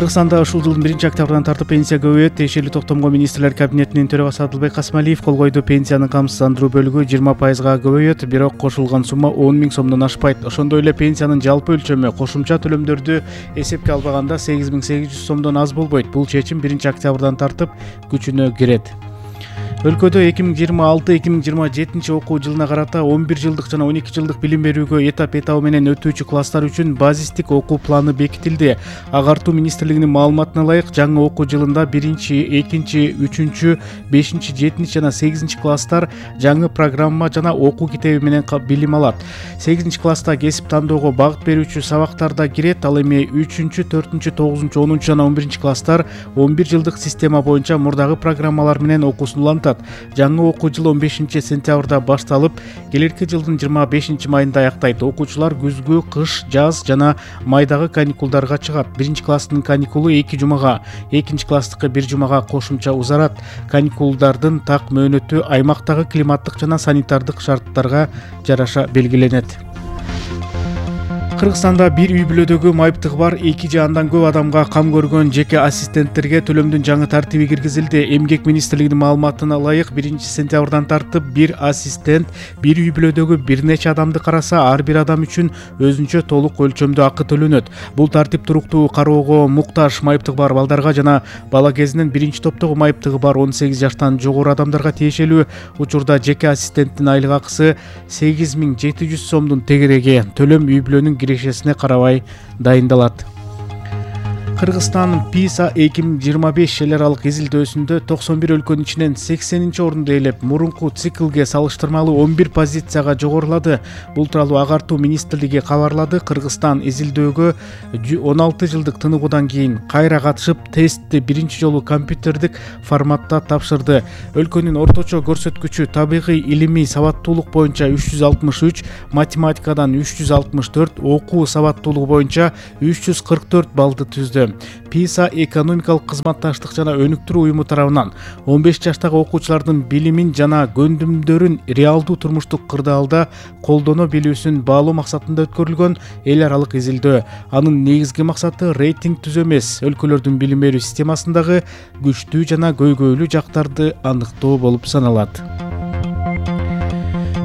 Кыргызстанда ушул жылдын 1-октябрдан тартып пенсия көбөйөт. Тиешелүү токтомго министрлер кабинетинин төрагасы Адылбек Касмалиев кол койду. Пенсиянын камсыздандыруу бөлүгү 20%га көбөйөт, бирок кошулган сумма 10 000 сомдон ашпайт. Ошондой эле пенсиянын жалпы өлчөмү кошумча төлөмдөрдү эсепке албаганда 8800 сомдон аз болбойт. Бул чечим 1-октябрдан тартып күчүнө кирет. Өлкөдө 2026-2027 окуу жылына карата 11 жылдык жана 12 жылдык билим берүүгө этап менен өтүүчү класстар үчүн базистик окуу планы бекитилди. Агартуу министрлигинин маалыматына ылайык, жаңы окуу жылында 1-2, 3, 5, 7 жана 8 класстар жаңы программа жана окуу китеби менен билим алат. 8 класста кесип тандоого багыт берүүчү сабактар да кирет. Ал эми 3, 4, 9, 10 жана 11 класстар 11 жылдык система боюнча мурдагы программалар менен окуусун улантат. Жаңы окуу жылы 15 сентябрда башталып, келерки жылдын 25 майында аяктайт. Окуучулар күзгү, кыш, жаз жана майдагы каникулдарга чыгат. 1 класстын каникулу 2 жумага, 2 класстыкы 1 жумага кошумча узарат. Каникулдардын так мөөнөтү аймактагы климаттык жана санитардык шарттарга жараша белгиленет. Кыргызстанда бир үй бүлөдөгү майыптыгы бар 2 же андан көп адамга кам көргөн жеке ассистенттерге төлөмдүн жаңы тартиби киргизилди. Эмгек министрлигинин маалыматына ылайык, 1 сентябрдан тартып бир ассистент бир үй бүлөдөгү бир нече адамды караса, ар бир адам үчүн өзүнчө толук өлчөмдө акы төлөнөт. Бул тартип туруктуу кароого муктаж майыптыгы бар балдарга жана бала кезинен 1-топтогу майыптыгы бар 18 жаштан жогору адамдарга тиешелүү. Учурда жеке ассистенттин айлык акысы 8700 сомдун тегереги. Төлөм үй бүлөнүн кирешесине карабай дайындалат. Кыргызстан PISA 2025 эл аралык изилдөөсүндө 91 өлкөнүн ичинен 80-орунду ээлеп, мурунку циклге салыштырмалуу 11 позицияга жогорулады. Бул тууралуу Агартуу министрлиги кабарлады. Кыргызстан изилдөөгө 16 жылдык тыныгуудан кийин кайра катышып, тестти биринчи жолу компьютердик форматта тапшырды. Өлкөнүн орточо көрсөткүчү табигый илимий сабаттуулук боюнча 363, математикадан 364, окуу сабаттуулугу боюнча 344 баллды түздү. PISA экономикалык кызматташтык жана өнүктүрүү уюму тарабынан 15 жаштагы окуучулардын билимин жана көндүмдөрүн реалдуу турмуштук кырдаалда колдоно билүүсүн баалоо максатында өткөрүлгөн эл аралык изилдөө. Анын негизги максаты рейтинг түзүү эмес, өлкөлөрдүн билим берүү системасындагы күчтүү жана көйгөйлүү жактарды аныктоо болуп саналат.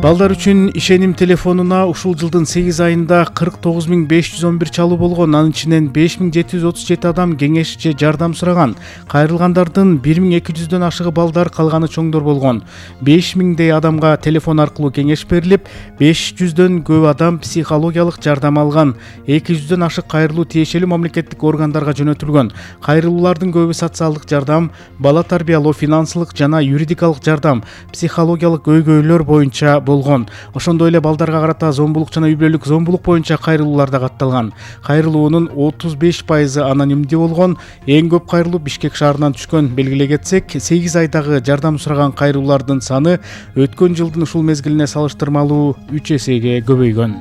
Балдар үчүн ишеним телефонуна ушул жылдын 8 айында 49511 чалуу болгон. Анын ичинен 5737 адам кеңеш же жардам сураган. Кайрылгандардын 1200дөн ашыгы балдар, калганы чоңдор болгон. 5000дей адамга телефон аркылуу кеңеш берилип, 500дөн көп адам психологиялык жардам алган. 200дөн ашык кайрылуу тиешелүү мамлекеттик органдарга жөнөтүлгөн. Кайрылуулардын көбү социалдык жардам, бала тарбиялоо, финансылык жана юридикалык жардам, психологиялык көйгөйлөр боюнча болгон. Ошондой эле балдарга карата зомбулук жана үй бүлөлүк зомбулук боюнча кайрылуулар да катталган. Кайрылуунун 35% анонимдүү болгон. Эң көп кайрылуу Бишкек шаарынан түшкөн. Белгилей кетсек, 8 айдагы жардам сураган кайрылуулардын саны өткөн жылдын ушул мезгилине салыштырмалуу 3 эсеге көбөйгөн.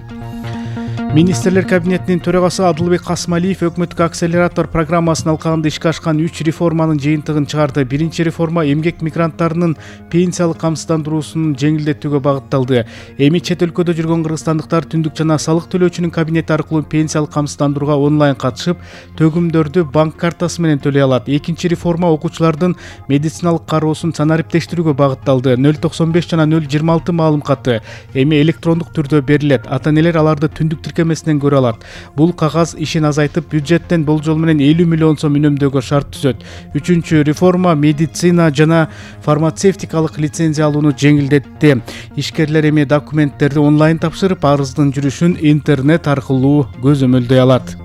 Министрлер кабинетинин төрагасы Адылбек Касмалиев өкмөттүк акселератор программасын алкагында ишке ашкан 3 реформанын жыйынтыгын чыгарды. Биринчи реформа эмгек мигранттарынын пенсиялык камсыздандыруусун жеңилдетүүгө багытталды. Эми чет өлкөдө жүргөн кыргызстандыктар түндүк жана салык төлөөчүнүн кабинети аркылуу пенсиялык камсыздандырууга онлайн катышып, төгүмдөрдү банк картасы менен төлөй алат. Экинчи реформа окуучулардын медициналык кароосун санариптештирүүгө багытталды. 095 жана 026 маалым каты эми электрондук түрдө берилет. Ата-энелер аларды түндүк тиркемесинен көрө алат. Бул кагаз ишин азайтып, бюджеттен болжол менен 50 миллион сом үнөмдөөгө шарт түзөт. Үчүнчү реформа медицина жана фармацевтикалык лицензия алууну жеңилдетти. Ишкерлер эми документтерди онлайн тапшырып, арыздын жүрүшүн интернет аркылуу көзөмөлдөй алат.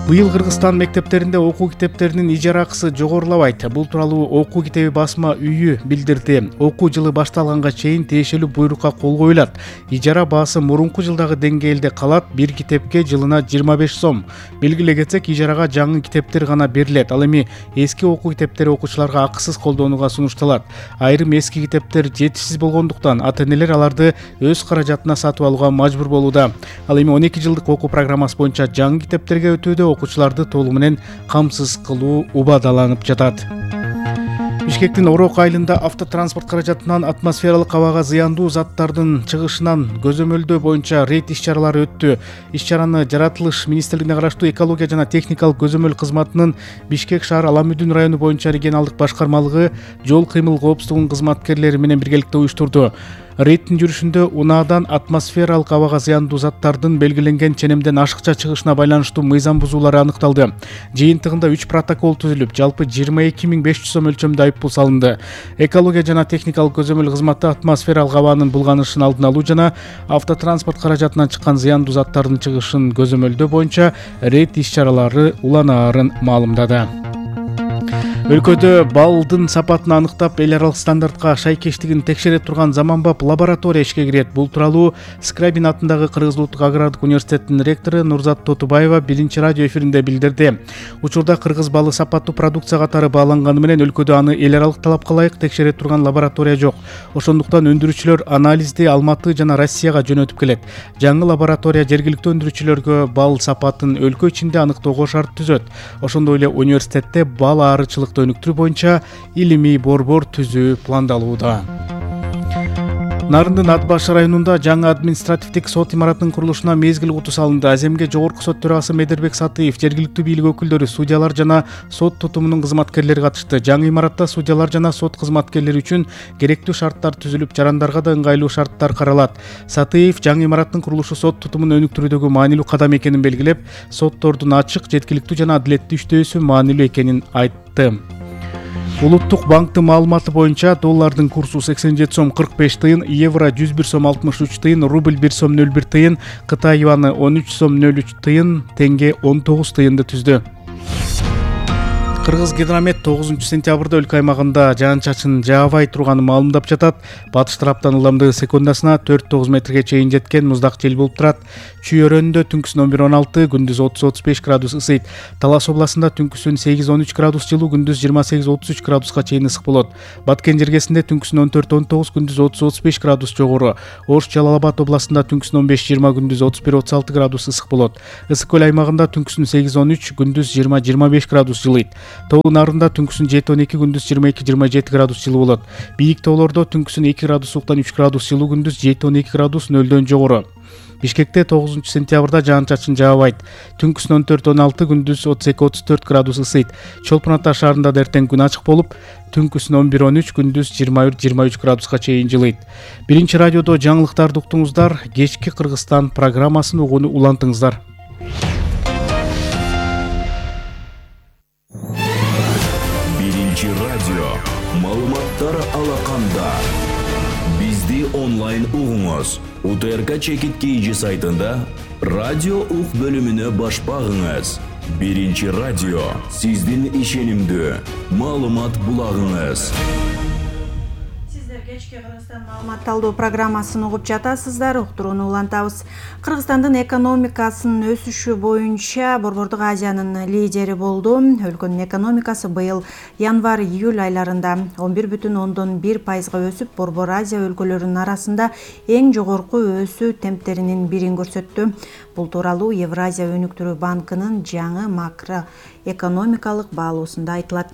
Быйыл Кыргызстан мектептеринде окуу китептеринин ижара акысы жогорулабайт. Бул тууралуу окуу китеби басма үйү билдирди. Окуу жылы башталганга чейин тиешелүү буйрукка кол коюлат. Ижара баасы мурунку жылдагы деңгээлде калат, бир китепке жылына 25 сом. Белгилей кетсек, ижарага жаңы китептер гана берилет. Ал эми эски окуу китептери окуучуларга акысыз колдонууга сунушталат. Айрым эски китептер жетишсиз болгондуктан ата-энелер аларды өз каражатына сатып алууга мажбур болууда. Ал эми 12 жылдык окуу программасы боюнча жаңы китептерге өтүүдө окуучуларды толугу менен камсыз кылуу убадаланып жатат. Бишкектин Орок айылында автотранспорт каражатынан атмосфералык абага зыяндуу заттардын чыгышынан көзөмөлдөө боюнча рейд иш-чаралары өттү. Иш-чараны Жаратылыш министрлигине караштуу экология жана техникалык көзөмөл кызматынын Бишкек шаар Аламүдүн району боюнча регионалдык башкармалыгы жол кыймыл коопсуздугунун кызматкерлери менен биргеликте уюштурду. Рейдтин жүрүшүндө унаадан атмосфералык абага зыяндуу заттардын белгиленген ченемден ашыкча чыгышына байланыштуу мыйзам бузуулары аныкталды. Жыйынтыгында 3 протокол түзүлүп, жалпы 22.500 сом өлчөмдө айыппул салынды. Экология жана техникалык көзөмөл кызматы атмосфералык абанын булганышын алдын алуу жана автотранспорт каражатынан чыккан зыяндуу заттардын чыгышын көзөмөлдөө боюнча рейд иш-чаралары уланаарын маалымдады. Өлкөдө балдын сапатын аныктап, эл аралык стандартка шайкештигин текшере турган заманбап лаборатория ишке кирет. Бул тууралуу Скрабин атындагы Кыргыз Улуттук агрардык университетинин ректору Нурзат Тотубаева биринчи радио эфиринде билдирди. Учурда кыргыз балы сапаттуу продукция катары бааланганы менен өлкөдө аны эл аралык талапка ылайык текшере турган лаборатория жок. Ошондуктан өндүрүүчүлөр анализди Алматы жана Россияга жөнөтүп келет. Жаңы лаборатория жергиликтүү өндүрүүчүлөргө бал сапатын өлкө ичинде аныктоого шарт түзөт. Ошондой эле университетте бал аарычылык өнүктүрүү боюнча илимий борбор түзүү пландалууда. Нарындын Ат Баш районунда жаңы административдик сот имаратынын курулушуна мезгил куту салынды. Аземге Жогорку сот төрагасы Медербек Сатыев, жергиликтүү бийлик өкүлдөрү, судьялар жана сот тутумунун кызматкерлери катышты. Жаңы имаратта судьялар жана сот кызматкерлери үчүн керектүү шарттар түзүлүп, жарандарга да ыңгайлуу шарттар каралат. Сатыев жаңы имараттын курулушу сот тутумун өнүктүрүүдөгү маанилүү кадам экенин белгилеп, соттордун ачык, жеткиликтүү жана адилеттүү иштөөсү маанилүү экенин айтты. Улуттук банктын маалыматы боюнча доллардын курсу 87 сом 45 тыйын, евро 101 сом 63 тыйын, рубль 1 сом 01 тыйын, Кытай юаны 13 сом 03 тыйын, теңге 19 тыйынды түздү. Кыргыз гидромет 9-сентябрда өлкө аймагында жаан-чачын жаабай турганын маалымдап жатат. Батыш тараптан ылдамдыгы секундасына 4-9 метрге чейин жеткен муздак жел болуп турат. Чүй өрөөнүндө түнкүсүн 11-16, күндүз 30-35 градус ысыйт. Талас областында түнкүсүн 8-13 градус жылуу, күндүз 28-33 градуска чейин ысык болот. Баткен жергесинде түнкүсүн 14-19, күндүз 30-35 градус жогору. Ош Жалал Абад областында түнкүсүн 15-20, күндүз 31-36 градус ысык болот. Ысык көл аймагында түнкүсүн 8-13, күндүз 20-25 градус жылыйт. Тоолуу нарында түнкүсүн 7-12, күндүз 22-27 градус жылуу болот. Бийик тоолордо түнкүсүн 2 градус ылдыктан 3 градус жылуу, күндүз 7-12 градус нөлдөн жогору. Бишкекте 9-сентябрда жаан-чачын жаабайт. Түнкүсүн 14-16, күндүз 32-34 градус ысыйт. Чолпон Ата шаарында да эртең күн ачык болуп, түнкүсүн 11-13, күндүз 21-23 градуска чейин жылыйт. Биринчи радиодо жаңылыктарды уктуңуздар. Кечки Кыргызстан программасын угууну улантыңыздар. Биринчи радио маалыматтар алаканда. Бизди онлайн угуңуз. УТРК Чекит KG сайтында радио ук бөлүмүнө баш багыңыз. Биринчи радио сиздин ишенимдүү маалымат булагыңыз. Кечки Кыргызстан маалымат талдоо программасын угуп жатасыздар. Уктурууну улантабыз. Кыргызстандын экономикасынын өсүшү боюнча Борбордук Азиянын лидери болду. Өлкөнүн экономикасы быйыл январь-июль айларында 11,1% өсүп, Борбор Азия өлкөлөрүнүн арасында эң жогорку өсүү темптеринин бирин көрсөттү. Бул тууралуу Евразия өнүктүрүү банкынын жаңы макроэкономикалык баалоосунда айтылат.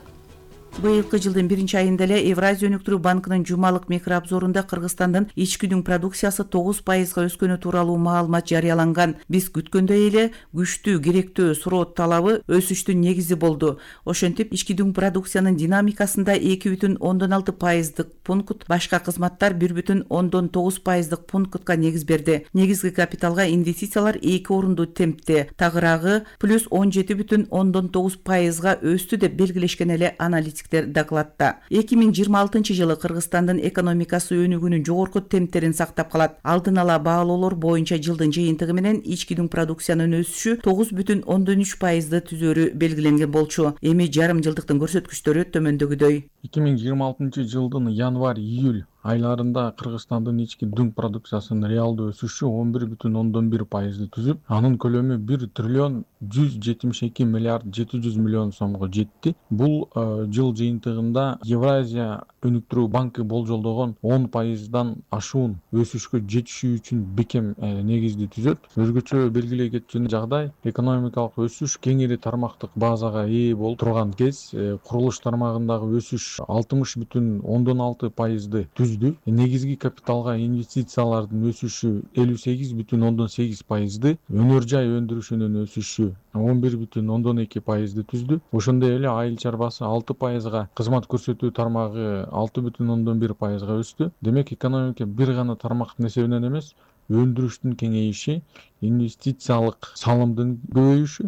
Быйылкы жылдын 1-айында эле Евразия өнүктүрүү банкынын жумалык микрообзорунда Кыргызстандын ички дүң продукциясы 9%га өскөнү тууралуу маалымат жарыяланган. Биз күткөндөй эле күчтүү керектөө суроо талабы өсүштүн негизи болду. Ошентип, ички дүң продукциянын динамикасында 2,6% пункт, башка кызматтар 1,9% пунктка негиз берди. Негизги капиталга инвестициялар 2 орунду темпте, тагыраагы плюс 17,9%га өстү деп белгилешкен эле аналитик докладта. 2026 жылы Кыргызстандын экономикасы өнүгүүнүн жогорку темптерин сактап калат. Алдын ала баалоолор боюнча жылдын жыйынтыгы менен ички дүң продукциянын өсүшү 9,3%ды түзөрү белгиленген болчу. Эми жарым жылдыктын көрсөткүчтөрү төмөндөгүдөй. 2026 жылдын январь-июль айларында Кыргызстандын ички дүң продукциясынын реалдуу өсүшү 11,1%ды түзүп, анын көлөмү 1 триллион 172 миллиард 700 миллион сомго жетти. Бул жыл жыйынтыгында Евразия өнүктүрүү банкы болжолдогон 10%дан ашуун өсүшкө жетишүү үчүн бекем негизди түзөт. Өзгөчө белгилей кетчү жагдай экономикалык өсүш кеңири тармактык базага ээ болуп турган кез, курулуш тармагындагы өсүш 60,6% түздү. Негизги капиталга инвестициялардын өсүшү 58,8%, өнөр жай өндүрүшүнүн өсүшү 11,2% түздү. Ошондой эле айыл чарбасы 6%, кызмат көрсөтүү тармагы 6,1%га өстү. Демек экономика бир гана тармактын эсебинен эмес, өндүрүштүн кеңейиши, инвестициялык салымдын көбөйүшү,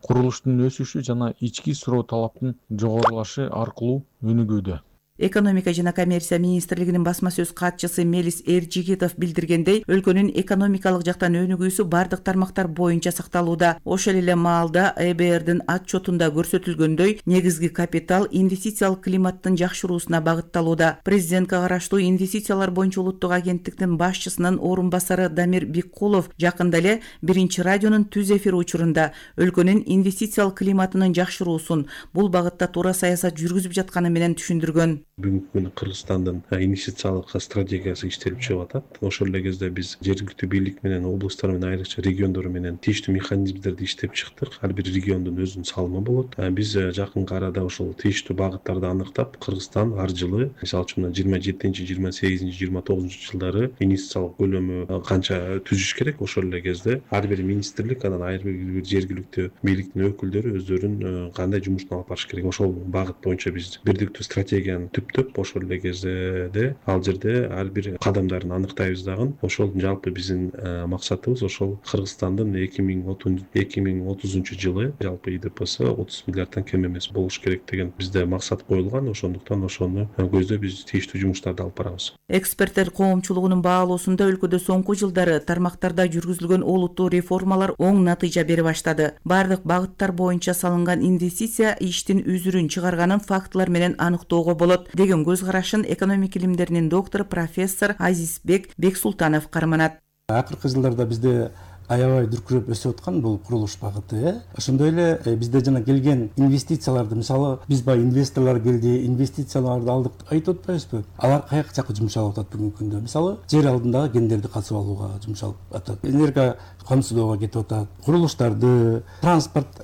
курулуштун өсүшү жана ички суроо талаптын жогорулашы аркылуу өнүгүүдө. Экономика жана коммерция министрлигинин басма сөз катчысы Мелис Эржигитов билдиргендей, өлкөнүн экономикалык жактан өнүгүүсү бардык тармактар боюнча сакталууда. Ошол эле маалда ЭБРдин отчетунда көрсөтүлгөндөй, негизги капитал инвестициялык климаттын жакшыруусуна багытталууда. Президентке караштуу инвестициялар боюнча улуттук агенттиктин башчысынын орун басары Дамир Биккулов жакында эле Биринчи радионун түз эфир учурунда өлкөнүн инвестициялык климатынын жакшыруусун бул багытта туура саясат жүргүзүп жатканы менен түшүндүргөн. Бүгүнкү күнү Кыргызстандын инвестициялык стратегиясы иштелип чыгып атат. Ошол эле кезде биз жергиликтүү бийлик менен, облусттар менен, айрыкча региондор менен тийиштүү механизмдерди иштеп чыктык. Ар бир региондун өзүнүн салымы болот. Биз жакынкы арада ошол тийиштүү багыттарды аныктап, Кыргызстан ар жылы, мисалы үчүн 27-28-29 жылдары инвестициялык көлөмү канча түзүш керек. Ошол эле кезде ар бир министрлик, анан ар бир жергиликтүү бийликтин өкүлдөрү өздөрүнүн кандай жумуштун алып барыш керек. Ошол багыт боюнча биз бирдиктүү стратегияны түптөп, ошол эле кезде ал жерде ар бир кадамдарын аныктайбыз дагы. Ошол жалпы биздин максатыбыз ошол Кыргызстандын 2030 жылы жалпы ИДПСы 30 миллиарддан кем эмес болуш керек деген бизде максат коюлган. Ошондуктан ошону көздөп биз тийиштүү жумуштарды алып барабыз. Эксперттер коомчулугунун баалоосунда өлкөдө соңку жылдары тармактарда жүргүзүлгөн олуттуу реформалар оң натыйжа бере баштады. Бардык багыттар боюнча салынган инвестиция иштин үзүрүн чыгарганын фактылар менен аныктоого болот деген көз карашын экономика илимдеринин доктору профессор Азизбек Бексултанов карманат. Акыркы жылдарда бизде аябай дүркүрөп өсүп аткан бул курулуш багыты. Ошондой эле бизде жана келген инвестицияларды, мисалы биз баягы инвесторлор келди, инвестицияларды алдык айтып атпайбызбы? Алар каяка жакка жумшалып атат бүгүнкү күндө? Мисалы жер алдындагы кендерди катышып алууга жумшалып атат. Энерго камсыздоого кетип атат. Курулуштарды, транспорт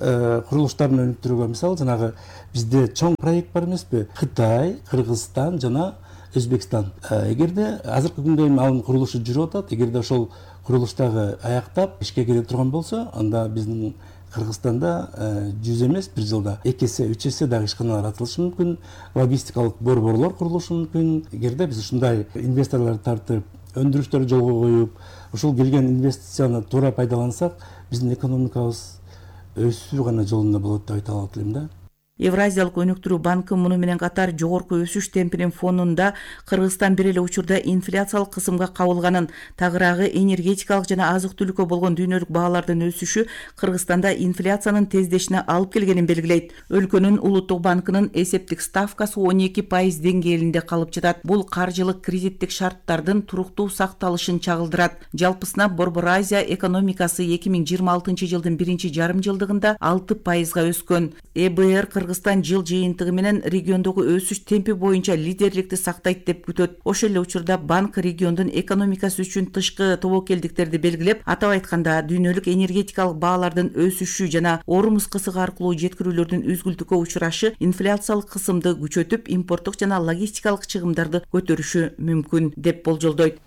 курулуштарын өнүктүрүүгө, мисалы жанагы бизде чоң проект бар эмеспи? Кытай, Кыргызстан жана Өзбекстан. Эгерде азыркы күндө анын курулушу жүрүп атат, эгерде ошол курулуштагы аяктап ишке кире турган болсо, анда биздин Кыргызстанда 100 эмес, бир жылда 2 эсе, 3 эсе дагы ишканалар ачылышы мүмкүн, логистикалык борборлор курулушу мүмкүн. Эгерде биз ушундай инвесторлорду тартып, өндүрүштөрдү жолго коюп, ушул келген инвестицияны туура пайдалансак, биздин экономикабыз өсүү гана жолунда болот деп айта алат элем да. Евразиялык өнүктүрүү банкы муну менен катар жогорку өсүш темпинин фонунда Кыргызстан бир эле учурда инфляциялык кысымга кабылганын, тагыраагы энергетикалык жана азык-түлүккө болгон дүйнөлүк баалардын өсүшү Кыргызстанда инфляциянын тездешине алып келгенин белгилейт. Өлкөнүн улуттук банкынын эсептик ставкасы 12% деңгээлинде калып жатат. Бул каржылык кредиттик шарттардын туруктуу сакталышын чагылдырат. Жалпысына Борбор Азия экономикасы 2026 жылдын биринчи жарым жылдыгында 6%га өскөн. ЭБР Кыргызстан жыл жыйынтыгы менен региондогу өсүш темпи боюнча лидерликти сактайт деп күтөт. Ошол эле учурда банк региондун экономикасы үчүн тышкы тобокелдиктерди белгилеп, атап айтканда дүйнөлүк энергетикалык баалардын өсүшү жана Ормуз кысыгы аркылуу жеткирүүлөрдүн үзгүлтүккө учурашы инфляциялык кысымды күчөтүп, импорттук жана логистикалык чыгымдарды көтөрүшү мүмкүн деп болжолдойт.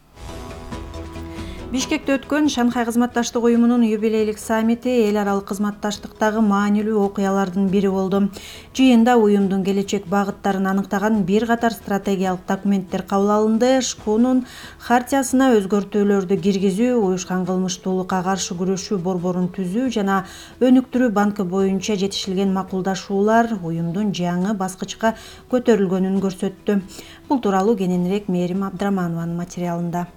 Бишкекте өткөн Шанхай кызматташтык уюмунун юбилейлик саммити эл аралык кызматташтыктагы маанилүү окуялардын бири болду. Жыйында уюмдун келечек багыттарын аныктаган бир катар стратегиялык документтер кабыл алынды. ШКУнун хартиясына өзгөртүүлөрдү киргизүү, уюшкан кылмыштуулукка каршы күрөшүү борборун түзүү жана өнүктүрүү банкы боюнча жетишилген макулдашуулар уюмдун жаңы баскычка көтөрүлгөнүн көрсөттү. Бул тууралуу кененирээк Мээрим Абдраманованын материалында.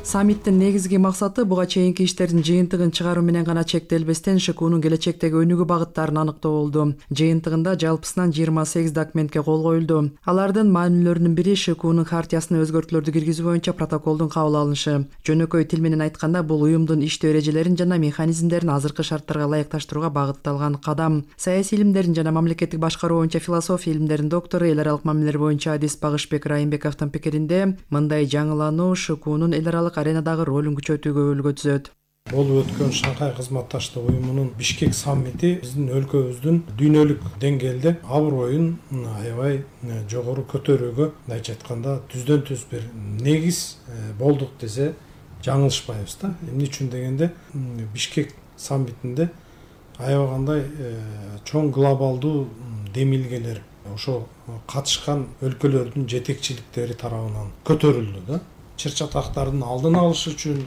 Саммиттин негизги максаты буга чейинки иштердин жыйынтыгын чыгаруу менен гана чектелбестен ШКУнун келечектеги өнүгүү багыттарын аныктоо болду. Жыйынтыгында жалпысынан 28 документке кол коюлду. Алардын маанилүүлөрүнүн бири ШКУнун хартиясына өзгөртүүлөрдү киргизүү боюнча протоколдун кабыл алынышы. Жөнөкөй тил менен айтканда, бул уюмдун иштөө эрежелерин жана механизмдерин азыркы шарттарга ылайыкташтырууга багытталган кадам. Саясий илимдерин жана мамлекеттик башкаруу боюнча философия илимдеринин доктору, эл аралык мамилелер боюнча адис Багышбек Райымбековдун пикиринде, мындай жаңылануу ШКУнун эл аралык аренадагы ролун күчөтүүгө өбөлгө түзөт. болуп өткөн Шанхай кызматташтык уюмунун Бишкек саммити биздин өлкөбүздүн дүйнөлүк деңгээлде аброюн аябай жогору көтөрүүгө, мындайча айтканда түздөн түз бир негиз болдук десе жаңылышпайбыз да. Эмне үчүн дегенде Бишкек саммитинде аябагандай чоң глобалдуу демилгелер ошо катышкан өлкөлөрдүн жетекчиликтери тарабынан көтөрүлдү да. Чыр чатактардын алдын алыш үчүн,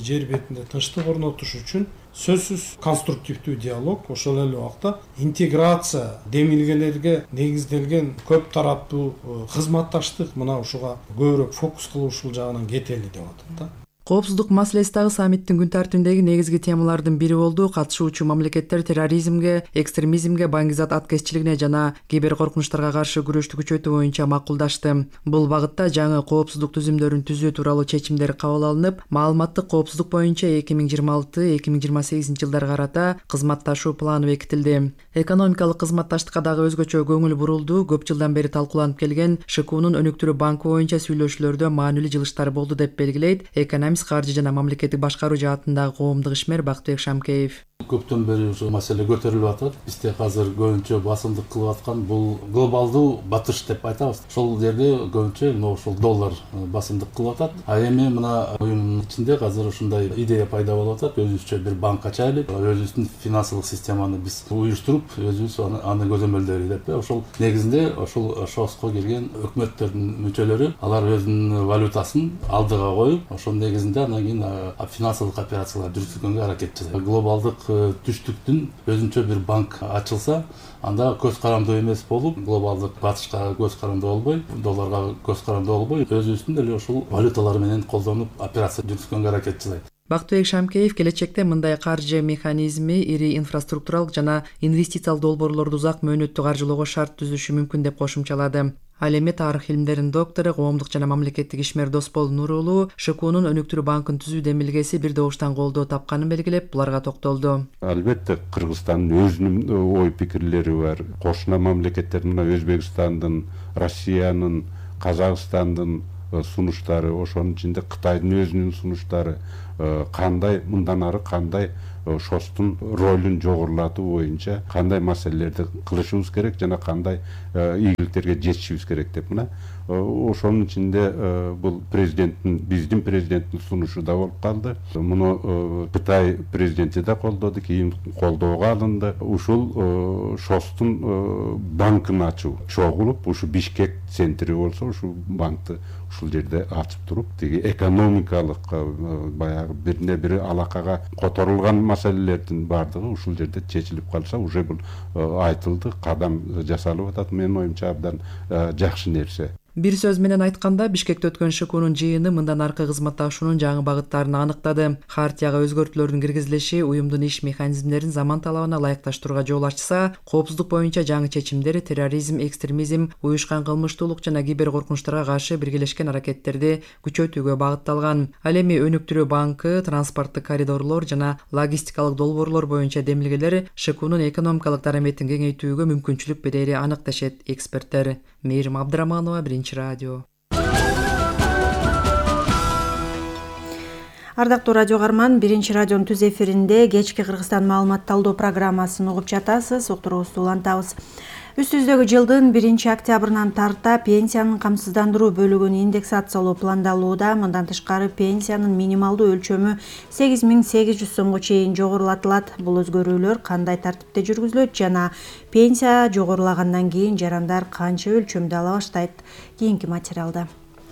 жер бетинде тынчтык орнотуш үчүн сөзсүз конструктивдүү диалог, ошол эле убакта интеграция демилгелерге негизделген көп тараптуу кызматташтык мына ушуга көбүрөөк фокус кылып ушул жагынан кетели деп атат да. Коопсуздук маселеси дагы саммиттин күн тартибиндеги негизги темалардын бири болду. Катышуучу мамлекеттер терроризмге, экстремизмге, баңгизат аткезчилигине жана кибер коркунучтарга каршы күрөштү күчөтүү боюнча макулдашты. Бул багытта жаңы коопсуздук түзүмдөрүн түзүү тууралуу чечимдер кабыл алынып, маалыматтык коопсуздук боюнча 2026-2028 жылдарга карата кызматташуу планы бекитилди. Экономикалык кызматташтыкка дагы өзгөчө көңүл бурулду. Көп жылдан бери талкууланып келген ШКУнун өнүктүрүү банкы боюнча сүйлөшүүлөрдө маанилүү жылыштар болду деп белгилейт каржы жана мамлекеттик башкаруу жаатындагы коомдук ишмер Бактыбек Шамкеев. Көптөн бери ушул маселе көтөрүлүп атат. Бизде азыр көбүнчө басымдык кылып аткан бул глобалдуу батыш деп айтабыз. Ошол жерде көбүнчө ошол доллар басымдык кылып атат. А эми мына уюмдун ичинде азыр ушундай идея пайда болуп атат. Өзүбүзчө бир банк ачайлы, өзүбүздүн финансылык системаны биз уюштуруп, өзүбүз аны көзөмөлдөйлү деп. Ошол негизинде ошол ШОСко келген өкмөттөрдүн мүчөлөрү алар өзүнүн валютасын алдыга коюп, ошол негизинде анан кийин финансылык операциялар жүргүзгөнгө аракет жасайт. Глобалдык түштүктүн өзүнчө бир банк ачылса, анда көз карандуу эмес болуп, глобалдык батышка көз карандуу болбой, долларга көз карандуу болбой, өзүбүздүн эле ушул валюталар менен колдонуп операция жүргүзгөнгө аракет жасайт. Бактыбек Шамкеев келечекте мындай каржы механизми ири инфраструктуралык жана инвестициялык долбоорлорду узак мөөнөттүү каржылоого шарт түзүшү мүмкүн деп кошумчалады. Ал эми тарых илимдеринин доктору, коомдук жана мамлекеттик ишмер Досбол Нурулуу ШКУнун өнүктүрүү банкын түзүү демилгеси бир добуштан колдоо тапканын белгилеп, буларга токтолду. Албетте Кыргызстандын өзүнүн ой пикирлери бар. Кошуна мамлекеттер мына Өзбекстандын, Россиянын, Казакстандын сунуштары, ошонун ичинде Кытайдын өзүнүн сунуштары, кандай мындан ары кандай ШОСтун ролун жогорулатуу боюнча кандай маселелерди кылышыбыз керек жана кандай ийгиликтерге жетишибиз керек деп мына ошонун ичинде бул биздин президенттин сунушу да болуп калды. Муну Кытай президенти да колдоду, кийин колдоого алынды. Ушул ШОСтун банкын ачуу чогулуп, ушу Бишкек центри болсо, ушул банкты ушул жерде ачып туруп, тиги экономикалык баягы бирине бири алакага которулган маселелердин баардыгы ушул жерде чечилип калса, уже бул айтылды, кадам жасалып атат. Менин оюмча абдан жакшы нерсе. Бир сөз менен айтканда, Бишкекте өткөн ШКУнун жыйыны мындан аркы кызматташуунун жаңы багыттарын аныктады. Хартияга өзгөртүүлөрдүн киргизилиши уюмдун иш механизмдерин заман талабына ылайыкташтырууга жол ачса, коопсуздук боюнча жаңы чечимдер терроризм, экстремизм, уюшкан кылмыштуулук жана кибер коркунучтарга каршы биргелешкен аракеттерди күчөтүүгө багытталган. Ал эми өнүктүрүү банкы, транспорттук коридорлор жана логистикалык долбоорлор боюнча демилгелер ШКУнун экономикалык дараметин кеңейтүүгө мүмкүнчүлүк берери анык дешет эксперттер. Мээрим Абдыраманова, Биринчи радио. Ардактуу радио каарман, Биринчи радионун түз эфиринде кечки Кыргызстан маалымат талдоо программасын угуп жатасыз. Уктуруубузду улантабыз. Үстүбүздөгү жылдын 1-октябрынан тарта пенсиянын камсыздандыруу бөлүгүн индексациялоо пландалууда. Мындан тышкары пенсиянын минималдуу өлчөмү 8800 сомго чейин жогорулатылат. Бул өзгөрүүлөр кандай тартипте жүргүзүлөт жана пенсия жогорулагандан кийин жарандар канча өлчөмдө ала баштайт? Кийинки материалда.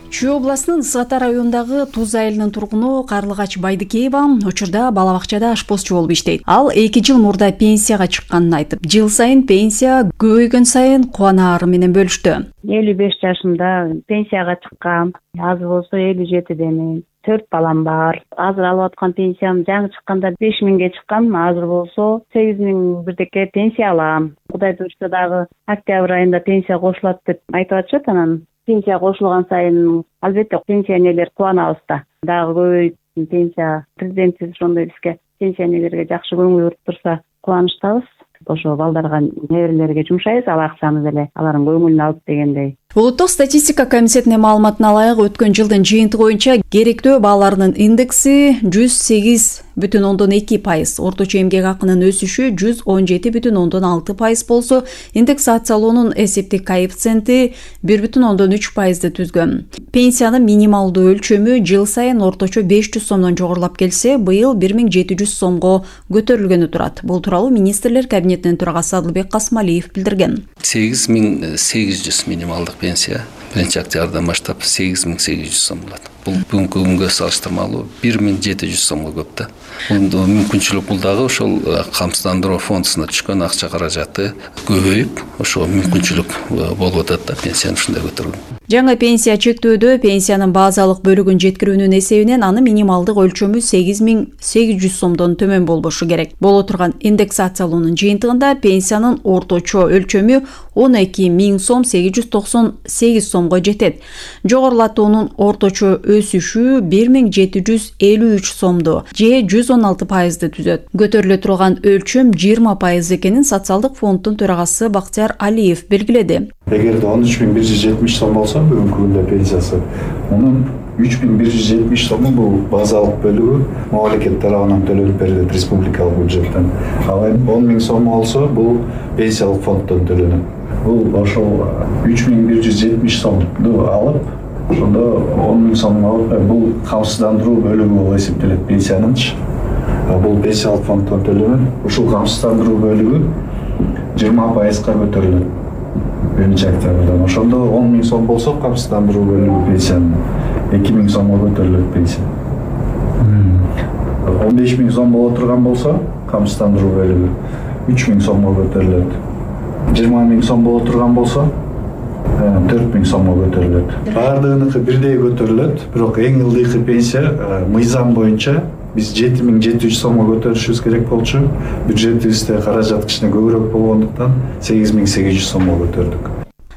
Чүй областынын Ысык Ата районундагы Туз айылынын тургуну Карлыгач Байдыкеева учурда бала бакчада ашпозчу болуп иштейт. Ал 2 жыл мурда пенсияга чыкканын айтып, жыл сайын пенсия көбөйгөн сайын кубанаары менен бөлүштү. 55 жашымда пенсияга чыккам. Азыр болсо 57демин. 4 балам бар. Азыр алып аткан пенсиям жаңы чыкканда 5000ге чыккан, азыр болсо 8000 бирдеке пенсия алам. Кудай буйрса дагы октябрь айында пенсия кошулат деп айтып атышат. Анан пенсия кошулган сайын албетте пенсионерлер кубанабыз да. Дагы көбөйүп пенсия президентибиз ошондой бизге пенсионерлерге жакшы көңүл буруп турса кубанычтабыз. Ошо балдарга, неберелерге жумшайбыз, ал акчаны деле алардын көңүлүн алып дегендей. Улуттук статистика комитетинин маалыматына ылайык өткөн жылдын жыйынтыгы боюнча керектөө бааларынын индекси 108,2%, орточо эмгек акынын өсүшү 117,6% болсо, индексациялоонун эсептик коэффициенти 1,3%ды түзгөн. Пенсиянын минималдуу өлчөмү жыл сайын орточо 500 сомдон жогорулап келсе, быйыл 1700 сомго көтөрүлгөнү турат. Бул тууралуу министрлер кабинетинин төрагасы Адылбек Касмалиев билдирген. 8800 минималдык пенсия 1-октябрдан баштап 8800 сом болот. Бул бүгүнкү күнгө салыштырмалуу 1700 сомго көп да. Бул мүмкүнчүлүк, бул дагы ошол камсыздандыруу фондуна түшкөн акча каражаты көбөйүп, ошо мүмкүнчүлүк болуп атат да пенсияны ушундай көтөргөн. Жаңы пенсия чектөөдө пенсиянын базалык бөлүгүн жеткирүүнүн эсебинен анын минималдык өлчөмү 8800 сомдон төмөн болбошу керек. Боло турган индексациялоонун жыйынтыгында пенсиянын орточо өлчөмү 12000 сом 898 сомго жетет. Жогорулатуунун орточо өсүшү 1753 сомду же 116%ды түзөт. Көтөрүлө турган өлчөм 20% экенин социалдык фонддун төрагасы Бактияр Алиев белгиледи. Эгерде 13170 сом болсо бүгүнкү күндө пенсиясы, мунун 3170 сому бул базалык бөлүгү мамлекет тарабынан төлөнүп берилет республикалык бюджеттен. Ал эми 10000 сом болсо бул пенсиялык фонддон төлөнөт. Бул ошол 3170 сомду алып, ошондо 10000 сом алып, бул камсыздандыруу бөлүгү болуп эсептелет пенсиянынчы. Бул пенсиялык фонддон төлөнөт. Ушул камсыздандыруу бөлүгү 20%га көтөрүлөт. 1-октябрдан. Ошондо 10000 сом болсо камсыздандыруу бөлүгү пенсиянын 2000 сомго көтөрүлөт пенсия. 15000 сом боло турган болсо камсыздандыруу бөлүгү 3000 сомго көтөрүлөт. 20000 сом боло турган болсо 4000 сомго көтөрүлөт. Баардыгыныкы бирдей көтөрүлөт, бирок эң ылдыйкы пенсия мыйзам боюнча биз 7700 сомго көтөрүшүбүз керек болчу. Бюджетибизде каражат кичине көбүрөөк болгондуктан 8800 сомго көтөрдүк.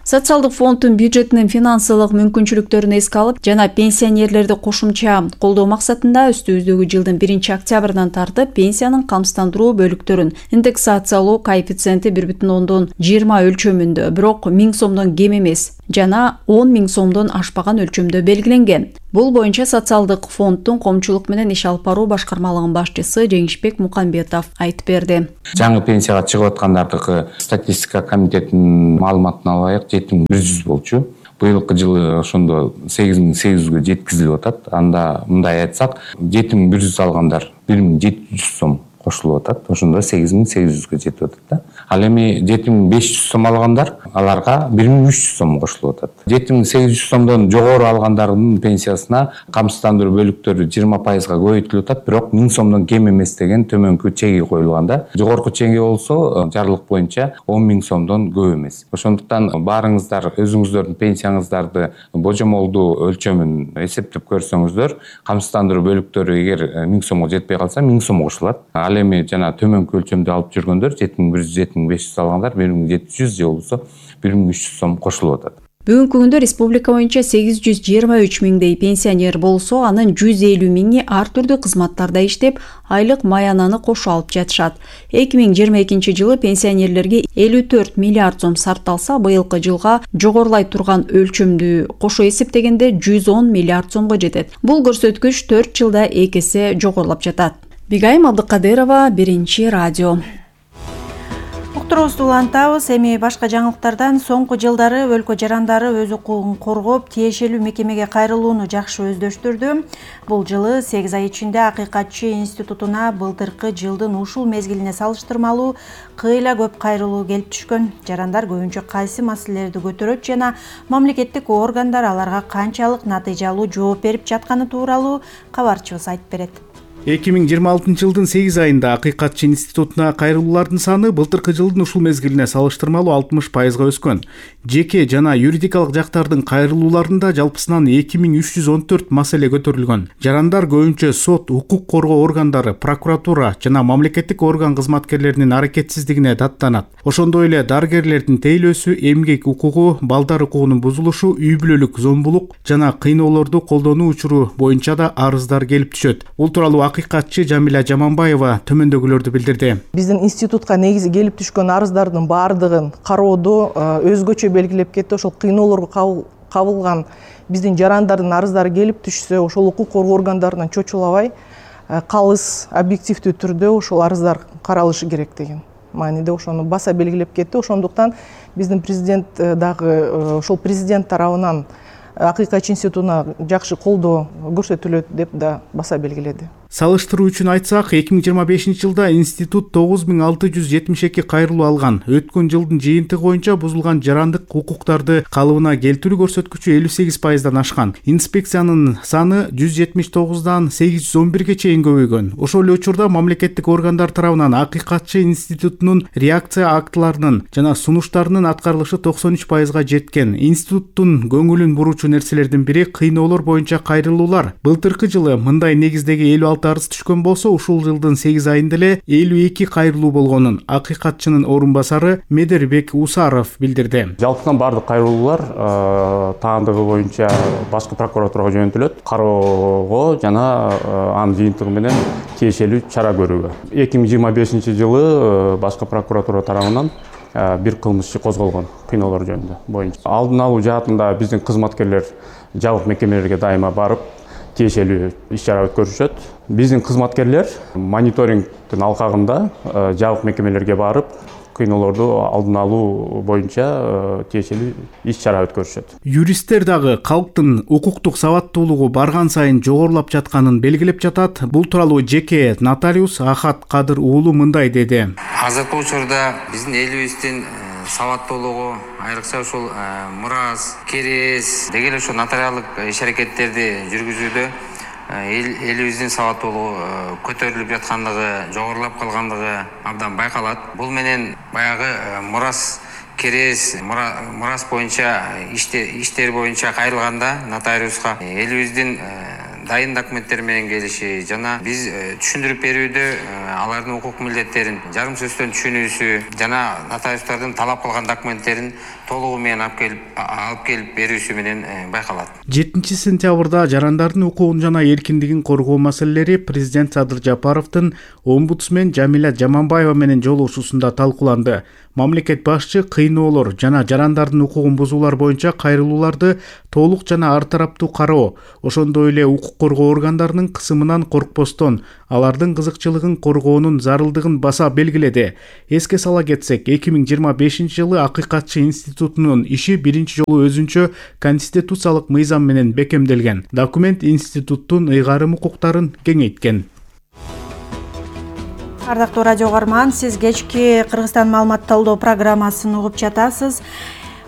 Социалдык фонддун бюджетинин финансылык мүмкүнчүлүктөрүн эске алып жана пенсионерлерди кошумча колдоо максатында үстүбүздөгү жылдын 1-октябрдан тартып пенсиянын камсыздандыруу бөлүктөрүн индексациялоо коэффициенти 1,20 өлчөмүндө, бирок 1000 сомдон кем эмес жана 10000 сомдон ашпаган өлчөмдө белгиленген. Бул боюнча социалдык фонддун коомчулук менен иш алып баруу башкармалыгынын башчысы Жеңишбек Мукамбетов айтып берди. Жаңы пенсияга чыгып аткандардыкы статистика комитетинин маалыматына ылайык 7100 болчу. Быйылкы жылы ошондо 8800гө жеткизилип атат. Анда мындай айтсак, 7100 алгандар 1700 сом кошулуп атат. Ошондо 8800гө жетип атат да. Ал эми 7500 сом алгандар, аларга 1300 сом кошулуп атат. 7800 сомдон жогору алгандардын пенсиясына камсыздандыруу бөлүктөрү 20%га көбөйтүлүп атат, бирок 1000 сомдон кем эмес деген төмөнкү чеги коюлган да. Жогорку чеги болсо жарлык боюнча 10000 сомдон көп эмес. Ошондуктан баарыңыздар өзүңүздөрдүн пенсияңыздарды божомолдуу өлчөмүн эсептеп көрсөңүздөр, камсыздандыруу бөлүктөрү эгер 1000 сомго жетпей калса 1000 сом кошулат. Ал эми жана төмөнкү өлчөмдү алып жүргөндөр 7100-7500 алгандар 1700 же болбосо 1300 сом кошулуп атат. Бүгүнкү күндө республика боюнча 823 миңдей пенсионер болсо, анын 150 миңи ар түрдүү кызматтарда иштеп, айлык маянаны кошо алып жатышат. 2022 жылы пенсионерлерге 54 миллиард сом сарпталса, быйылкы жылга жогорулай турган өлчөмдү кошо эсептегенде 110 миллиард сомго жетет. Бул көрсөткүч 4 жылда 2 эсе жогорулап жатат. Бигайым Абдыкадырова, Биринчи радио. Уктуруубузду улантабыз. Эми башка жаңылыктардан соңку жылдары өлкө жарандары өз укугун коргоп, тиешелүү мекемеге кайрылууну жакшы өздөштүрдү. Бул жылы 8 ай ичинде Акыйкатчы институтуна былтыркы жылдын ушул мезгилине салыштырмалуу кыйла көп кайрылуу келип түшкөн. Жарандар көбүнчө кайсы маселелерди көтөрөт жана мамлекеттик органдар аларга канчалык натыйжалуу жооп берип жатканы тууралуу кабарчыбыз айтып берет. 2026 жылдын 8 айында Акыйкатчы институтуна кайрылуулардын саны былтыркы жылдын ушул мезгилине салыштырмалуу 60%га өскөн. Жеке жана юридикалык жактардын кайрылууларында жалпысынан 2314 маселе көтөрүлгөн. Жарандар көбүнчө сот, укук коргоо органдары, прокуратура жана мамлекеттик орган кызматкерлеринин аракетсиздигине даттанат. Ошондой эле дарыгерлердин тейлөөсү, эмгек укугу, балдар укугунун бузулушу, үй бүлөлүк зомбулук жана кыйноолорду колдонуу учуру боюнча да арыздар келип түшөт. Бул тууралуу акыйкатчы Жамиля Жаманбаева төмөндөгүлөрдү билдирди. Биздин институтка негизи келип түшкөн арыздардын баардыгын кароодо өзгөчө белгилеп кетти. Ошол кыйноолорго кабылган биздин жарандардын арыздары келип түшсө, ошол укук коргоо органдарынан чочулабай калыс объективдүү түрдө ошол арыздар каралышы керек деген мааниде ошону баса белгилеп кетти. Ошондуктан биздин президент дагы ошол президент тарабынан акыйкатчы институтуна жакшы колдоо көрсөтүлөт деп да баса белгиледи. Салыштыруу үчүн айтсак, 2025 жылда институт 9672 кайрылуу алган. Өткөн жылдын жыйынтыгы боюнча бузулган жарандык укуктарды калыбына келтирүү көрсөткүчү 58%дан ашкан. Инспекциянын саны 179дан 811ге чейин көбөйгөн. Ошол эле учурда мамлекеттик органдар тарабынан акыйкатчы институтунун реакция актыларынын жана сунуштарынын аткарылышы 93%га жеткен. Институттун көңүлүн буруучу нерселердин бири кыйноолор боюнча кайрылуулар. Былтыркы жылы мындай негиздеги 56 арыз түшкөн болсо, ушул жылдын 8 айында эле 52 кайрылуу болгонун акыйкатчынын орун басары Медербек Усаров билдирди. Жалпысынан бардык кайрылуулар таандыгы боюнча башкы прокуратурага жөнөтүлөт, кароого жана анын жыйынтыгы менен тиешелүү чара көрүүгө. 2025 жылы башкы прокуратура тарабынан бир кылмыш иши козголгон кыйноолор жөнүндө боюнча. Алдын алуу жаатында биздин кызматкерлер жабык мекемелерге дайыма барып тиешелүү иш-чара өткөрүшөт. Биздин кызматкерлер мониторингдин алкагында жабык мекемелерге барып кыйноолорду алдын алуу боюнча тиешелүү иш-чара өткөрүшөт. Юристтер дагы калктын укуктук сабаттуулугу барган сайын жогорулап жатканын белгилеп жатат. Бул тууралуу жеке нотариус Ахат Кадыр уулу мындай деди. Азыркы учурда биздин элибиздин сабаттуулугу айрыкча ушул мурас, керес деги эле ушул нотариалдык иш-аракеттерди жүргүзүүдө элибиздин сабаттуулугу көтөрүлүп жаткандыгы, жогорулап калгандыгы абдан байкалат. Бул менен баягы мурас, керес, мурас боюнча иштер боюнча кайрылганда нотариуска элибиздин дайын документтер менен келиши жана биз түшүндүрүп берүүдө алардын укук милдеттерин жарым сөздөн түшүнүүсү жана нотариустардын талап кылган документтерин толугу менен алып келип берүүсү менен байкалат. 7 сентябрда жарандардын укугун жана эркиндигин коргоо маселелери президент Садыр Жапаровдун омбудсмен Жамиля Жаманбаева менен жолугушуусунда талкууланды. Мамлекет башчы кыйноолор жана жарандардын укугун бузуулар боюнча кайрылууларды толук жана ар тараптуу кароо, ошондой эле укук коргоо органдарынын кысымынан коркпостон алардын кызыкчылыгын коргоонун зарылдыгын баса белгиледи. Эске сала кетсек, 2025 жылы акыйкатчы институтунун иши биринчи жолу өзүнчө конституциялык мыйзам менен бекемделген. Документ институттун ыйгарым укуктарын кеңейткен. Ардактуу радио угарман, сиз кечки Кыргызстан маалымат талдоо программасын угуп жатасыз.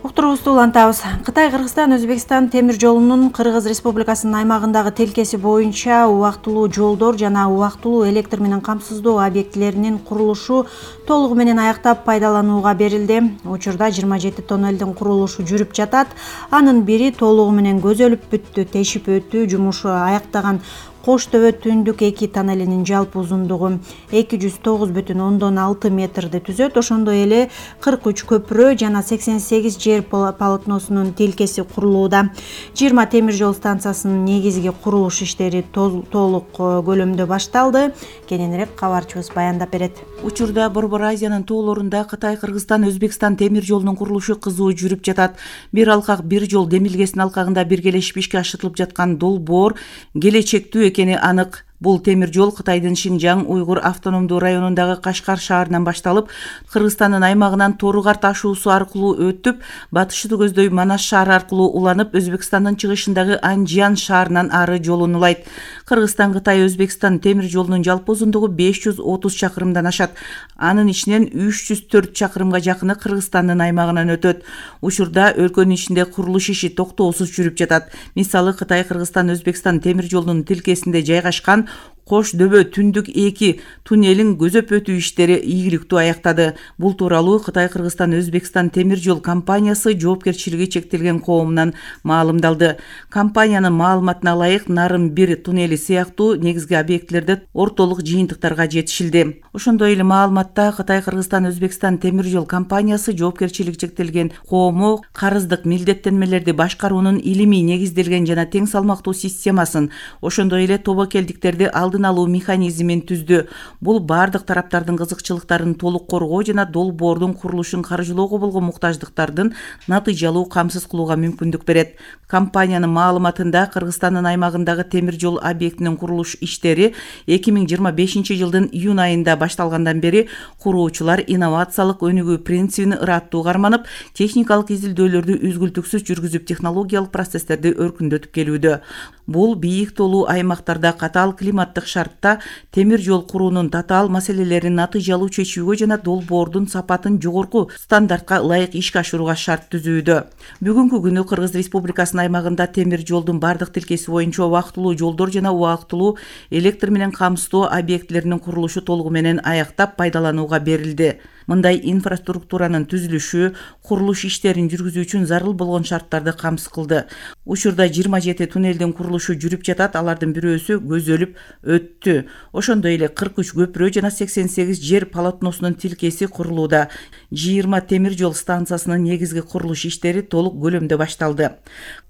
Уктуруубузду улантабыз. Кытай, Кыргызстан, Өзбекстан темир жолунун Кыргыз Республикасынын аймагындагы тилкеси боюнча убактылуу жолдор жана убактылуу электр менен камсыздоо объектилеринин курулушу толугу менен аяктап пайдаланууга берилди. Учурда 27 тоннелдин курулушу жүрүп жатат. Анын бири толугу менен көзөлүп бүттү. Тешип өтүү жумушу аяктаган Кош төбө түндүк 2 тоннелинин жалпы узундугу 209,6 метрди түзөт. Ошондой эле 43 көпүрө жана 88 жер полотносунун тилкеси курулууда. 20 темир жол станциясынын негизги курулуш иштери толук көлөмдө башталды. Кененирээк кабарчыбыз баяндап берет. Учурда Борбор Азиянын тоолорунда Кытай, Кыргызстан, Өзбекстан темир жолунун курулушу кызуу жүрүп жатат. Бир алкак, бир жол демилгесинин алкагында биргелешип ишке ашырылып жаткан долбоор келечектүү экени анык. Бул темир жол Кытайдын Шинжаң Уйгур автономдуу районундагы Кашкар шаарынан башталып, Кыргызстандын аймагынан Торугар ташуусу аркылуу өтүп, батышты көздөй Манас шаары аркылуу уланып, Өзбекстандын чыгышындагы Анжиян шаарынан ары жолун улайт. Кыргызстан, Кытай, Өзбекстан темир жолунун жалпы узундугу 530 чакырымдан ашат. Анын ичинен 304 чакырымга жакыны Кыргызстандын аймагынан өтөт. Учурда өлкөнүн ичинде курулуш иши токтоосуз жүрүп жатат. Мисалы, Кытай, Кыргызстан, Өзбекстан темир жолунун тилкесинде жайгашкан Кош дөбө түндүк 2 туннелин көзөп өтүү иштери ийгиликтүү аяктады. Бул тууралуу Кытай, Кыргызстан, Өзбекстан темир жол компаниясы жоопкерчилиги чектелген коомунан маалымдалды. Компаниянын маалыматына ылайык, Нарын 1 туннели сыяктуу негизги объектилерде ортолук жыйынтыктарга жетишилди. Ошондой эле маалыматта Кытай, Кыргызстан, Өзбекстан темир жол компаниясы жоопкерчилиги чектелген коому карыздык милдеттенмелерди башкаруунун илимий негизделген жана тең салмактуу системасын, ошондой эле тобокелдиктерди алдын алуу механизмин түздү. Бул бардык тараптардын кызыкчылыктарын толук коргоо жана долбоордун курулушун каржылоого болгон муктаждыктардын натыйжалуу камсыз кылууга мүмкүндүк берет. Компаниянын маалыматында Кыргызстандын аймагындагы темир жол объектинин курулуш иштери 2025 жылдын июнь айында башталгандан бери куруучулар инновациялык өнүгүү принцибин ыраттуу карманып, техникалык изилдөөлөрдү үзгүлтүксүз жүргүзүп, технологиялык процесстерди өркүндөтүп келүүдө. Бул бийик тоолуу аймактарда катаал климаттык шартта темир жол куруунун татаал маселелерин натыйжалуу чечүүгө жана долбоордун сапатын жогорку стандартка ылайык ишке ашырууга шарт түзүүдө. Бүгүнкү күнү Кыргыз Республикасынын аймагында темир жолдун бардык тилкеси боюнча убактылуу жолдор жана убактылуу электр менен камсыздоо объектилеринин курулушу толугу менен аяктап пайдаланууга берилди. Мындай инфраструктуранын түзүлүшү курулуш иштерин жүргүзүү үчүн зарыл болгон шарттарды камсыз кылды. Учурда 27 туннелдин курулушу жүрүп жатат, алардын бирөөсү көзөлүп өттү. Ошондой эле 43 көпүрө жана 88 жер полотносунун тилкеси курулууда. 20 темир жол станциясынын негизги курулуш иштери толук көлөмдө башталды.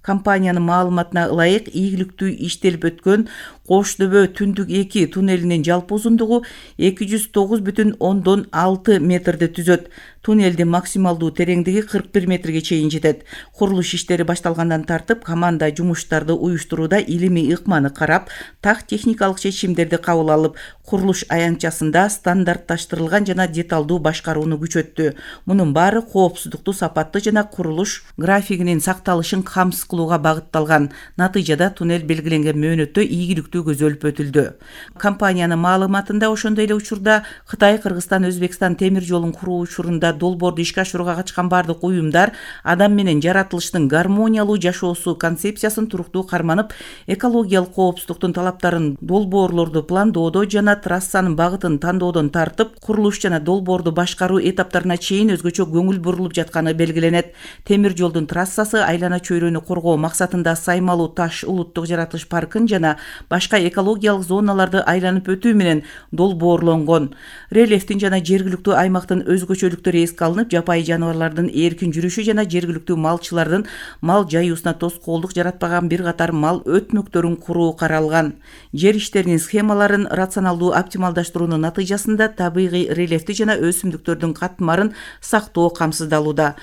Компаниянын маалыматына ылайык, ийгиликтүү иштелип өткөн Кош дөбө түндүк 2 туннелинин жалпы узундугу 209,6 метрди түзөт. Туннелдин максималдуу тереңдиги 41 метрге чейин жетет. Курулуш иштери башталгандан тартып, команда жумуштарды уюштурууда илимий ыкманы карап, так техникалык чечимдерди кабыл алып, курулуш аянтчасында стандартташтырылган жана деталдуу башкарууну күчөттү. Мунун баары коопсуздукту сапаттуу жана курулуш графигинин сакталышын камсыз кылууга багытталган. Натыйжада туннель белгиленген мөөнөттө ийгиликтүү көзөлүп өтүлдү. Компаниянын маалыматында ошондой эле учурда Кытай, Кыргызстан, Өзбекстан темир жолун куруу учурунда долбоорду ишке ашырууга катышкан бардык уюмдар адам менен жаратылыштын гармониялуу жашоосу концепциясын туруктуу карманып, экологиялык коопсуздуктун талаптарын долбоорлорду пландоодо жана трассанын багытын тандоодон тартып, курулуш жана долбоорду башкаруу этаптарына чейин өзгөчө көңүл бурулуп жатканы белгиленет. Темир жолдун трассасы айлана чөйрөнү коргоо максатында Саймалуу таш улуттук жаратылыш паркын жана башка экологиялык зоналарды айланып өтүү менен долбоорлонгон. Рельефтин жана жергиликтүү аймактын өзгөчөлүктөрү эске алынып, жапайы жаныбарлардын эркин жүрүшү жана жергиликтүү малчылардын мал жаюусуна тоскоолдук жаратпаган бир катар мал өтмөктөрүн куруу каралган. Жер иштеринин схемаларын рационалдуу оптималдаштыруунун натыйжасында табигый рельефти жана өсүмдүктөрдүн катмарын сактоо камсыздалууда.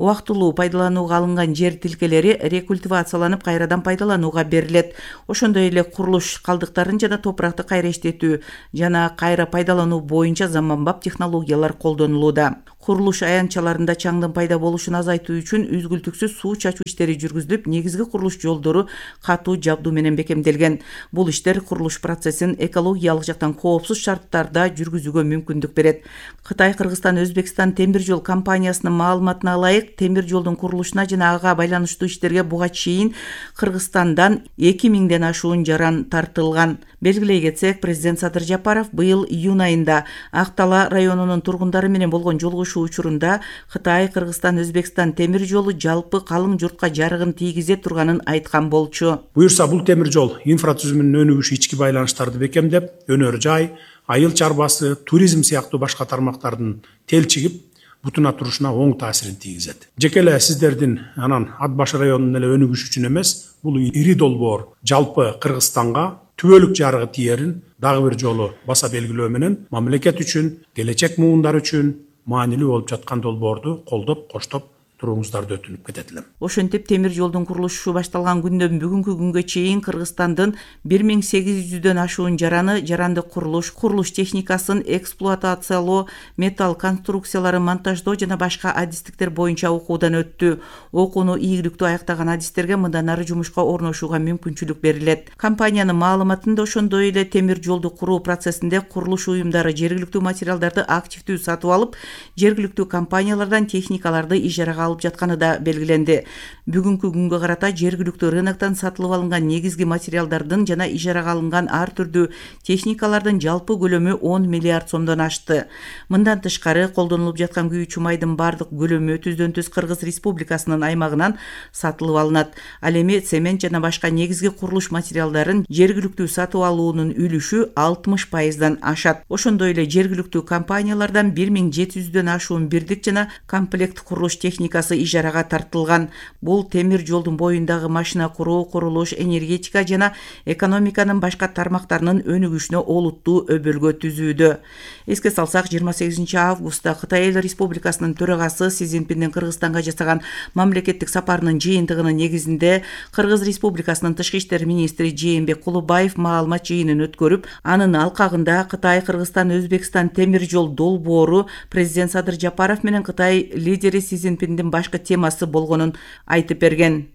Убактылуу пайдаланууга алынган жер тилкелери рекультивацияланып кайрадан пайдаланууга берилет. Ошондой эле курулуш калдыктарын жана топуракты кайра иштетүү жана кайра пайдалануу боюнча заманбап технологиялар колдонулууда. Курулуш аянтчаларында чаңдын пайда болушун азайтуу үчүн үзгүлтүксүз суу чачуу иштери жүргүзүлүп, негизги курулуш жолдору катуу жабдуу менен бекемделген. Бул иштер курулуш процессин экологиялык жактан коопсуз шарттарда жүргүзүүгө мүмкүндүк берет. Кытай, Кыргызстан, Өзбекстан темир жол компаниясынын маалыматына ылайык, темир жолдун курулушуна жана ага байланыштуу иштерге буга чейин Кыргызстандан 2000ден ашуун жаран тартылган. Белгилей кетсек, президент Садыр Жапаров быйыл июнь айында Актала районунун тургундары менен болгон жолугушуу учурунда Кытай, Кыргызстан, Өзбекстан темир жолу жалпы калың журтка жарыгын тийгизе турганын айткан болчу. Буюрса, бул темир жол инфратүзүмүнүн өнүгүшү, ички байланыштарды бекемдеп, өнөр жай, айыл чарбасы, туризм сыяктуу башка тармактардын телчигип бутуна турушуна оң таасирин тийгизет. Жеке эле сиздердин анан Ат башы районунун эле өнүгүшү үчүн эмес, бул ири долбоор жалпы Кыргызстанга түбөлүк жарыгы тиерин дагы бир жолу баса белгилөө менен мамлекет үчүн, келечек муундар үчүн маанилүү болуп жаткан долбоорду колдоп, коштоп турууңуздарды өтүнүп кетет элем. Ошентип темир жолдун курулушу башталган күндөн бүгүнкү күнгө чейин Кыргызстандын 1800дөн ашуун жараны жарандык курулуш техникасын эксплуатациялоо, металл конструкцияларын монтаждоо жана башка адистиктер боюнча окуудан өттү. Окууну ийгиликтүү аяктаган адистерге мындан ары жумушка орношууга мүмкүнчүлүк берилет. Компаниянын маалыматында ошондой эле темир жолду куруу процессинде курулуш уюмдары жергиликтүү материалдарды активдүү сатып алып, жергиликтүү компаниялардан техникаларды ижарага алып жатканы да белгиленди. Бүгүнкү күнгө карата жергиликтүү рыноктон сатылып алынган негизги материалдардын жана ижарага алынган ар түрдүү техникалардын жалпы көлөмү 10 миллиард сомдон ашты. Мындан тышкары колдонулуп жаткан күйүүчү майдын бардык көлөмү түздөн-түз Кыргыз Республикасынын аймагынан сатылып алынат. Ал эми цемент жана башка негизги курулуш материалдарын жергиликтүү сатып алуунун үлүшү 60%дан ашат. Ошондой эле жергиликтүү компаниялардан 1700дөн ашуун бирдик жана комплект курулуш техникасы техникасы ижарага тартылган. Бул темир жолдун боюндагы машина куруу, курулуш, энергетика жана экономиканын башка тармактарынын өнүгүшүнө олуттуу өбөлгө түзүүдө. Эске салсак, 28 августта Кытай Эл Республикасынын төрагасы Си Цзиньпиндин Кыргызстанга жасаган мамлекеттик сапарынын жыйынтыгынын негизинде Кыргыз Республикасынын тышкы иштер министри Жээнбек Кулубаев маалымат жыйынын өткөрүп, анын алкагында Кытай, Кыргызстан, Өзбекстан темир жол долбоору президент Садыр Жапаров менен Кытай лидери Си Цзиньпиндин башкы темасы болгонун айтып берген.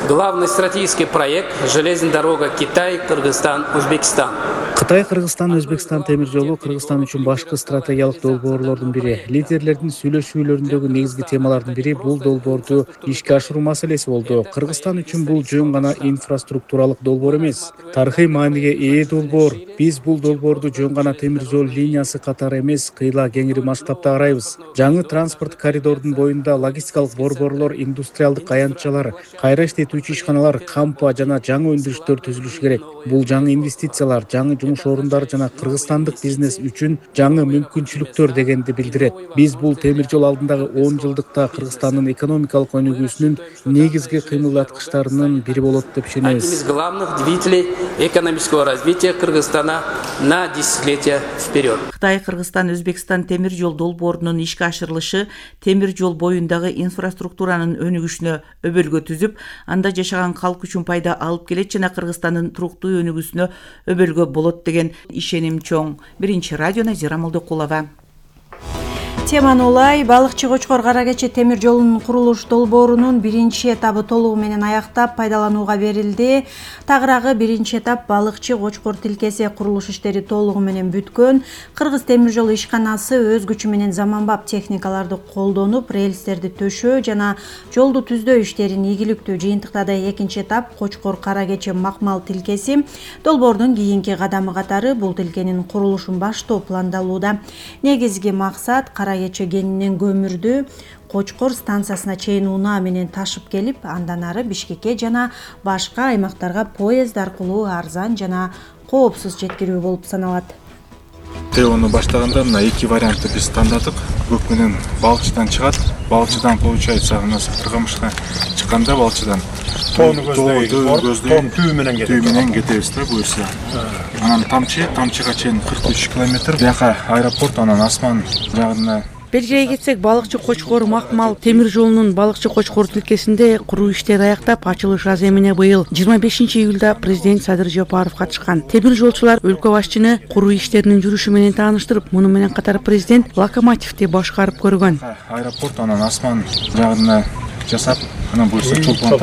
Главный стратегический проект «Железная дорога Китай, Кыргызстан, Өзбекстан». Кытай, Кыргызстан, Өзбекстан темир жолу Кыргызстан үчүн башкы стратегиялык долбоорлордун бири. Лидерлердин сүйлөшүүлөрүндөгү негизги темалардын бири бул долбоорду ишке ашыруу маселеси болду. Кыргызстан үчүн бул жөн гана инфраструктуралык долбоор эмес, тарыхый мааниге ээ долбоор. Биз бул долбоорду жөн гана темир жол линиясы катары эмес, кыйла кеңири масштабта карайбыз. Жаңы транспорт коридордун боюнда логистикалык борборлор, индустриалдык аянтчалар, кайра иштетүүчү ишканалар, кампа жана жаңы өндүрүштөр түзүлүшү керек. Бул жаңы инвестициялар, жаңы жумуш орундары жана кыргызстандык бизнес үчүн жаңы мүмкүнчүлүктөр дегенди билдирет. Биз бул темир жол алдындагы 10 жылдыкта Кыргызстандын экономикалык өнүгүүсүнүн негизги кыймылдаткычтарынын бири болот деп ишенебиз. Одним из главных двигателей экономического развития Кыргызстана на десятилетия вперед. Кытай, Кыргызстан, Өзбекстан темир жол долбоорунун ишке ашырылышы темир жол боюндагы инфраструктуранын өнүгүшүнө өбөлгө түзүп, анда жашаган калк үчүн пайда алып келет жана Кыргызстандын туруктуу өнүгүүсүнө өбөлгө болот деген ишеним чоң. Биринчи радио Назира Молдокулова. Теманы улай, балыкчы Кочкор Кара Кече темир жолунун курулуш долбоорунун биринчи этабы толугу менен аяктап пайдаланууга берилди. Тагыраагы биринчи этап балыкчы Кочкор тилкеси курулуш иштери толугу менен бүткөн. Кыргыз темир жол ишканасы өз күчү менен заманбап техникаларды колдонуп, рельстерди төшөө жана жолду түздөө иштерин ийгиликтүү жыйынтыктады. Экинчи этап Кочкор Кара Кече макмал тилкеси долбоордун кийинки кадамы катары бул тилкенин курулушун баштоо пландалууда. Негизги максат Кара Кече кенинен көмүрдү Кочкор станциясына чейин унаа менен ташып келип, андан ары Бишкекке жана башка аймактарга поезд аркылуу арзан жана коопсуз жеткирүү болуп саналат. ТОну баштаганда мына эки вариантты биз тандадык. Көк менен балыкчыдан чыгат. Балыкчыдан получается мына Кыргызстанга чыкканда балыкчыдан тоону көздөй менен кетебиз да буюрса. Анан тамчыга чейин 43 километр. Бияка аэропорт, анан асман жагына. Белгилей кетсек, балыкчы Кочкор макмал темир жолунун балыкчы Кочкор тилкесинде куруу иштери аяктап, ачылыш аземине быйыл 25 июлда президент Садыр Жапаров катышкан. Темир жолчулар өлкө башчыны куруу иштеринин жүрүшү менен тааныштырып, муну менен катар президент локомотивди башкарып көргөн. Аэропорт, анан асман жагына жасап, анан буюрса чолпон